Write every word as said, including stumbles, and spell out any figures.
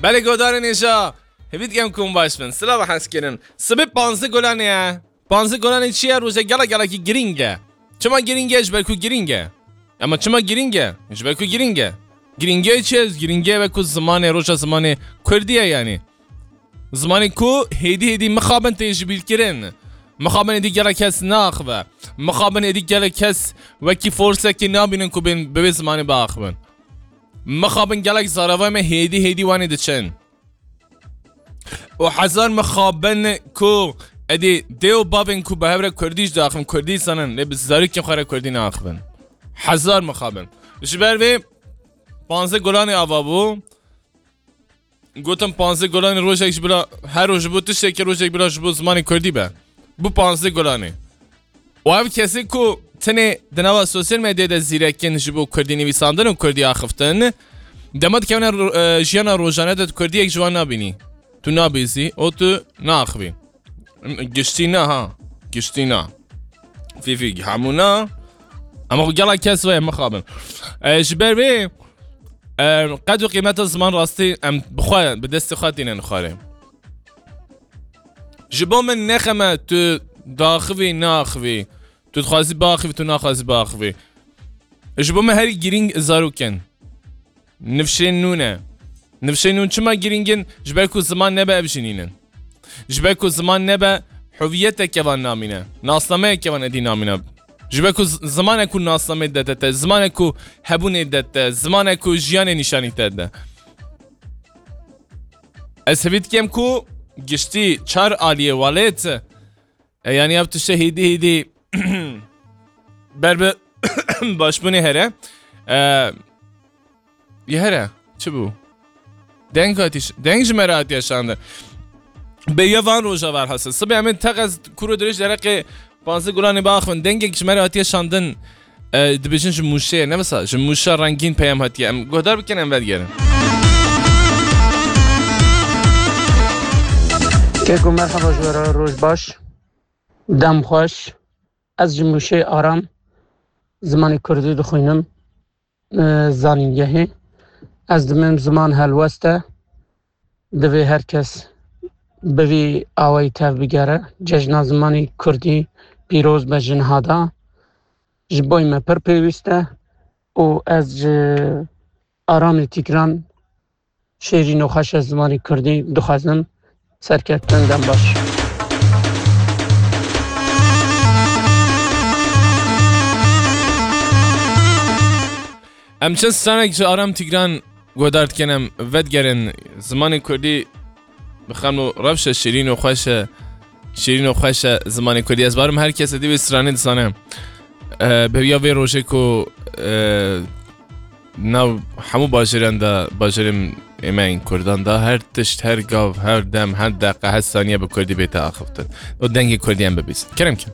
Belê godarên êja, hêvî dikem ku hûn baş bin. Silav hez kirin. Sibê panzdeh Gulanê ye. Panzdeh Gulanê çi ye? Rojek gelek gelekî girîng e. Çima girîng e? Ji ber ku girîng e. Ama çima girîng e? Ji ber ku girîng e. Girîngiya çi ye? Girîngiya wek ku zimanê, roja zimanê Kurdî ye yanî. Zimanê ku hêdî hêdî mixabin tê jibîrkirin. Mixabin êdî gelek kes naxive. Mixabin êdî gelek kes wekî forsekê nabînin ku bên bi wê zimanê biaxivin. Mixabin gelek zarevayê me hêdî hêdî wanê diçin. Û hezar mixabin ku êdî dê û bavên ku bi hev re kurdî jî diaxivin, kurdî zanin, lê bi zarokên xwe re kurdî naaxivin. Hezar mixabin. Ji ber vê panzdeh Gulanê ava bû. Gotin panzdeh Gulanê rojek ji bila, her roj ji bo tiştekî, rojek bila ji bo zimanê kurdî be. Bû panzdeh Gulanê. Û ev kesê ku tenê di nava sosyal medyayê de zîrek in ji bo kurdî nivîsandin û kurdî axiftin, dema dikevine ro-, e, jiyana rojane de tu kurdiyek ji wan nabînî. Tu nabîzî û tu naaxivî. Giştî na ha. Giştî na. Fîfî hemû na. Ama xwe gelek kes ve mixabin. E, ji ber vê, e, qed û qîmeta ziman rastî em bi xwe, bi destê xwe tînin xwarê. Ji bo min ne xem e tu diaxivî, naaxivî. Tu dixwazî biaxivî, tu naxwazî biaxivî. Ji bo min herî girîng zarok in. Nifşên nû ne. Nifşên nû çima girîng in? Ji ber ku ziman nebe ev jî nînin. Ji ber ku ziman nebe hewiyeteke van namîne. Nasnameyeke van êdî namîne. Ji ber ku z-, zimanek ku nasnameyê dete te, zimanek ku hebûnê dete, zimanek ku jiyanê nîşanî te de. Ez hêvî dikem ku giştî çar aliyê welêt, e, yanî ev tişte hêdî hêdî ber bi başbûnê here. E, yê here. Çi bû? Deng hatiye ş-, deng ji me re hatiye şandin. Bêya van roja ver hasil. Sibê em ê teqez kuro dirêj dereqê panzdeh Gulanê biaxivin. Dengek ji me re hatiye şandin. E, dibêjin ji Mûşê ye. Ne wisa, ji Mûşa rengîn peyam hatiye. Em guhdar bikin, em vedigerin. Keko, merhaba ji we re, roj baş. Dem xweş. Ez ji Mûşê Aram, zimanê kurdî dixwînim, e, zanîngehê. Ez dimêm ziman helwest e. Divê her kes bi vî awayî tev bigere. Cejna zimanê kurdî pîroz be ji niha de. Ji bo me pir pêwîst e û ez ji Aramê Tîgran şêrîn û xweşe zimanê kurdî dixwazim. Serkeftin, dem baş. Em çend stranek ji Aram Tîgran guhdar dikin, em vedigerin. Zimanê kurdî bi xem û rewş e, şêrîn û xweş e. Şêrîn û xweş e zimanê kurdî. Ez barim her kes êdî wê stranê dizane. E, bi ya vê rojê ku, e, nav hemû bajêran de, bajêrên ê me yên kurdan de, her tişt, her gav, her dem, her deqe, her saniye bi kurdî bête axiftin. Û dengê kurdî em bibîsin. Kerem ke.